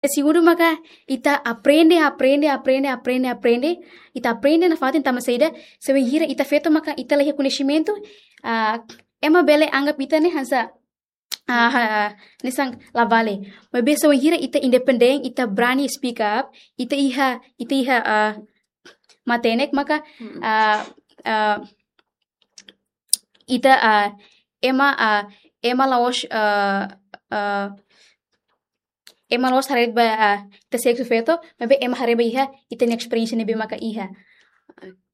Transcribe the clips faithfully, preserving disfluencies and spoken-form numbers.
Segundu maka ita aprende, aprende, aprende, aprende, aprende. Ita aprende nafatin tanba saida, se bainhira ita feto maka ita la iha koñesimentu, ah, ema bele anggap ita ne'e hanesan, ah, ha-, hanesan la vale. Maibé se bainhira ita independen, ita brani speak up, ita iha, ita iha, ah, matenek maka, Mm. ah, ah, ita, ah, ema, ah, ema la'ós, ah, ah, ema la'ós haree ba, ah, ita seksu feto, maibé ema haree ba iha ita-nia esperiénsia ne'ebé maka iha.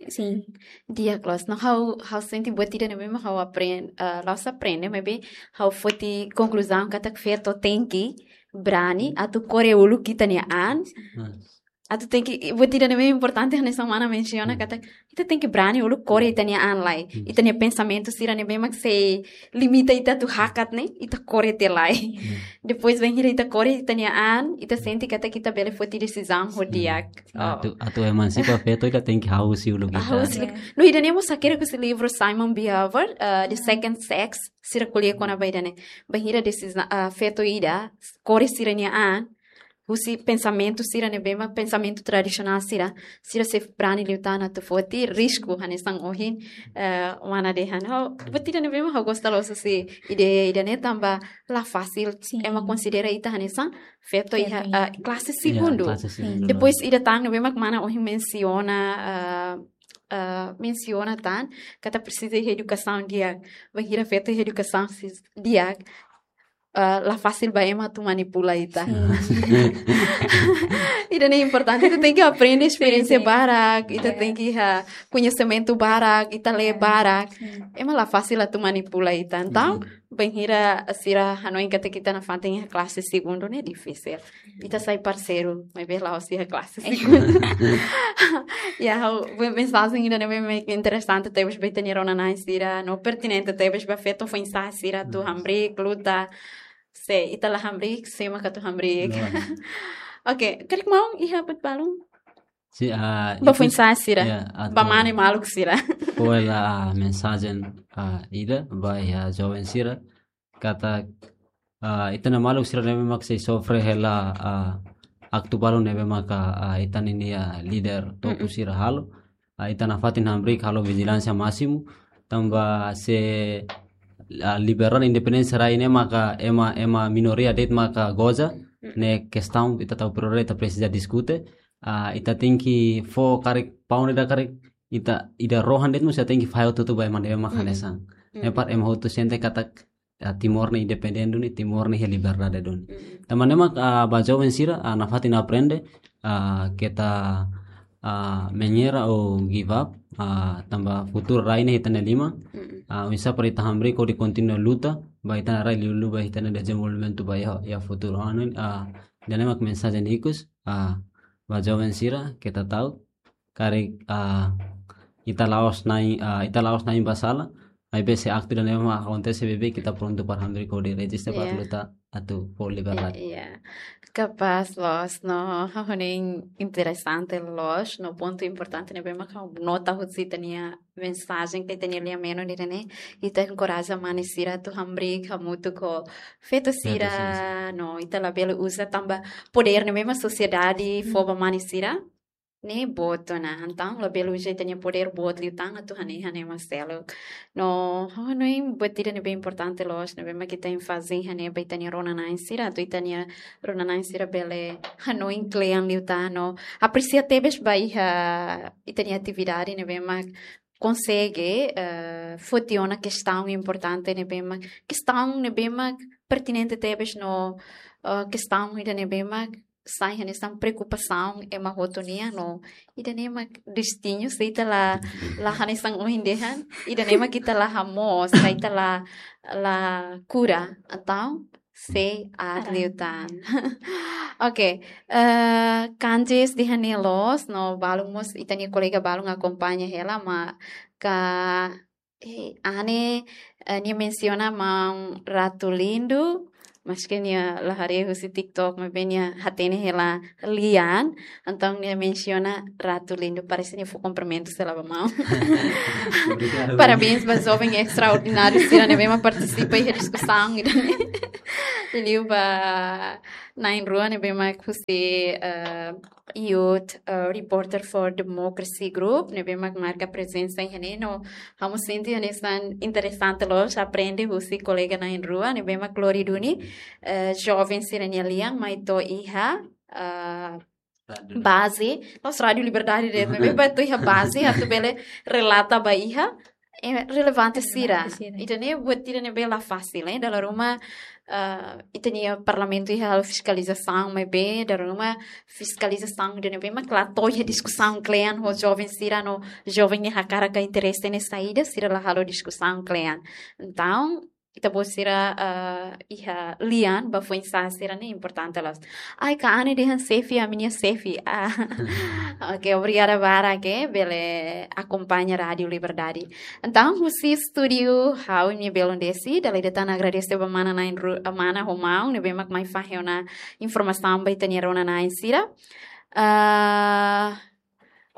Sin. Di'ak loos, no ha'u, ha'u sente buat ida ne'ebé mak ha'u aprende, ah, la'ós aprende, maibé ha'u foti konkluzaun katak feto tenke brani, atu kore uluk ita-nia an, Hmm. atu tenke, buat ida ne'ebé importante hanesan mana mensiona Hmm. katak, ita tenke brani uluk kore ita-nia an lai. Hmm. Ita-nia pensamentu sira ne'ebé mak sei limita ita atu hakat ne'e, ita kore tiha lai. Hmm. Depois bainhira ita kore ita-nia an, ita sente katak ita bele foti desizaun ho Hmm. di'ak. Oh. Atu, atu emansipa feto ita tenke hahú husi uluk ita. Hahú husi uluk. Yeah. No ida-ne'e mós hakerek husi livru Simon Beauvoir, eh, The Hmm. Second Sex, sira ko'alia kona-ba ida-ne'e. Bainhira desiza-, ah, feto ida, kore sira-nia an, husi pensamentu sira ne'ebé mak pensamentu tradisionál sira, sira sei brani liután atu foti, risku hanesan ohin, eh, mana dehan. Ha'u, buat ida ne'ebé mak ha'u gosta loos husi ideia ida-ne'e tanba la fasil, Sin. ema konsidera ita hanesan feto Feto iha, iha. ah, klase Iya, segundu. klase segundu. Depois ida tan ne'ebé mak mana ohin mensiona, ah, ah, mensiona tan, katak presiza iha edukasaun di'ak. Bainhira feto iha edukasaun sis-, di'ak, ah, la fasil ba ema atu manipula ita. Sin. Ida-ne'e importante, ita tenke aprende esperiénsia Sin, sin. barak, ita Iya. tenke iha koñesimentu barak, ita lee Iya. barak. Sin. Ema la fasil atu manipula ita. Entaun, Hmm. bainhira sira hanoin katak ita nafatin iha klase segundu ne'e difisil. Ita sai parseiru, maibé la'ós iha klase Iya. segundu. Ya, ha'u, mensajen ida ne'ebé mak interesante tebes ba ita-nia rona-na'in sira, no pertinente tebes ba feto foin-sa'e sira atu Hmm. hamriik, luta. Se ita la hamriik, sé mak atu hamriik. Loos. Oke, karik maun iha buat balun? Si, ah, Ba ikus, foin-sa'e sira. ya, Ba atu mane maluk sira. Fó hela mensajen, ah, ida, ba iha joven sira. Katak, ah, ita-nia maluk sira ne'ebé mak sei sofre hela, ah, aktu balu ne'ebé maka, ah, ita ninia líder topu Mm-mm. sira halo. Ah, ita nafatin hamriik halo vijilánsia másimu. Tanba se, ah, liberdade independénsia rai ne'e maka ema, ema minoria de'it maka goza. Mm-mm. Ne'e kestaun ita tau prioridade ita presiza diskute. Ah, ita tenke fó karik paun ida karik ita ida rohan de'it mós ita tenke fahe hotu-hotu ba ema ne'ebé mak Mm. hanesan. Mm. Ne'e para ema hotu sente katak, ah, Timor ne'e independente duni, Timor ne'e iha liberdade duni. Mm. Tanba ne'e mak, ah, ba joven sira, ah, nafatin aprende, ah, keta, ah, menyerah ou give up, ah, tanba futuru rai ne'e iha ita-nia liman. Mm. Ah, oinsá para ita hamriik hodi kontinua luta, ba ita-nia rai liuliu ba ita-nia dezenvolvimentu ba iha, iha futuru. Anu, ah, ida-ne'e mak mensajen ikus, ah, ba joven sira, keta ta'uk, karik, ah, ita la'ós na'in, ah, ita la'ós na'in ba sala, maibé se aktu ida-ne'e mak akontese beibeik ita prontu para hamriik hodi reziste para Iya. luta atu fó liberdade. Iya. Kapás loos, no, ha'u hanoin interesante loos, no pontu importante ne'ebé mak ha'u nota husi ita-nia mensajen ka ita-nia lian-menon ida-ne'e, ita enkoraja mane sira atu hamriik hamutuk ho feto Feto sira, sira. no, ita labele uza tanba podér ne'ebé mak sosiedade fó ba mane sira, ne'e boot ona. Entaun labele uza ita-nia podér boot liután atu hanehan ema seluk. No, ha'u hanoin buat ida ne'ebé importante loos, ne'ebé mak ita enfaze hanehan ba ita-nia rona-na'in sira, atu ita-nia rona-na'in sira bele hanoin kle'an liután, no apresia tebes ba iha ita-nia atividade ne'ebé mak konsege, eh, foti ona kestaun importante ne'ebé mak, kestaun ne'ebé mak pertinente tebes no, eh, kestaun ida ne'ebé mak sai hanesan preokupasaun ema hotu nian no ida-ne'e mak destinu, se ita la, la hanesan ohin dehan, ida-ne'e mak ita la hamoos, se ita la, la kura, entaun sei aat Aat. liután. Oke, eh, Kanjes dehan ne'e loos, no balun mós ita-nia kolega balun akompaña hela, maka, eh, Ane, eh, nia mensiona maun Ratu Lindu, maske nia la haree husi TikTok, maibé nia hatene hela lian, entaun nia mensiona Ratu Lindu, parese nia fó kumprimentu sira ba maun. Obrigadu. Parabéns ba joven estraordináriu sira ne'ebé mak partisipa iha diskusaun ida-ne'e. Liu ba na'in-rua ne'ebé mak husi, eh, Youth, eh, Reporter for Democracy Group, ne'ebé mak marka prezensa iha ne'e no ha'u sente hanesan interesante loos aprende husi kolega na'in-rua ne'ebé mak lori duni, eh, joven sira-nia lian mai to'o iha, eh, baze, la'ós Rádiu Liberdade de'it, maibé ba to'o iha baze, atu bele relata ba iha, eh, relevante sira. Relevante sira. Ida-ne'e buat ida ne'ebé la fasil, eh, dala ruma, eh, ita-nia parlamentu iha halo fiskalizasaun, maibé dala ruma fiskalizasaun ida ne'ebé mak la to'o iha diskusaun klean ho joven sira no joven ne'e hakarak ka interese ne'e saida, sira la halo diskusaun klean. Entaun, ita-boot sira, eh, iha lian ba foin-sa'e sira ne'e importante loos. Ai, ka Ane dehan xefe, ami-nia xefe. Ah. Oke, obrigada barak, eh, bele akompaña Rádiu Liberdade. Entaun, husi estúdiu, ha'u-nia belun Desi, dala ida tan agradese ba mana na'in-rua, mana ho maun ne'ebé mak mai fahe ona informasaun ba ita-nia rona-na'in sira. Ah,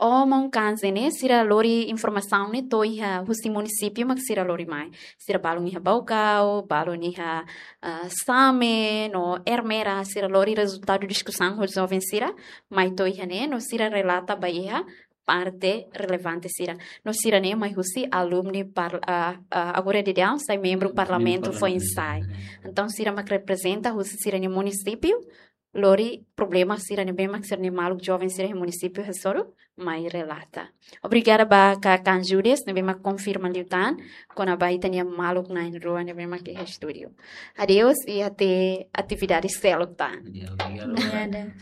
o maun Kanze ne'e, sira lori informasaun ne'e to'o iha husi munisípiu mak sira lori mai. Sira balun iha Baucau, balun iha, ah, Same, no Ermera, sira lori rezultadu diskusaun ho joven sira, mai to'o iha ne'e, no sira relata ba iha parte relevante sira. No sira-ne'e mai husi alumni par-, ah, ah, agora daudaun sai membru parlamentu foin-sa'e. Entaun sira mak reprezenta husi sira-nia munisípiu, lori problema sira ne'ebé mak sira-nia maluk joven sira iha munisípiu hasoru mai relata. Obrigada ba ka Kan Judes ne'ebé mak konfirma liután kona-ba ita-nia maluk na'in-rua ne'ebé mak iha estúdiu. Adeus i até atividade seluk tan. Ya, obrigadu. Obrigada.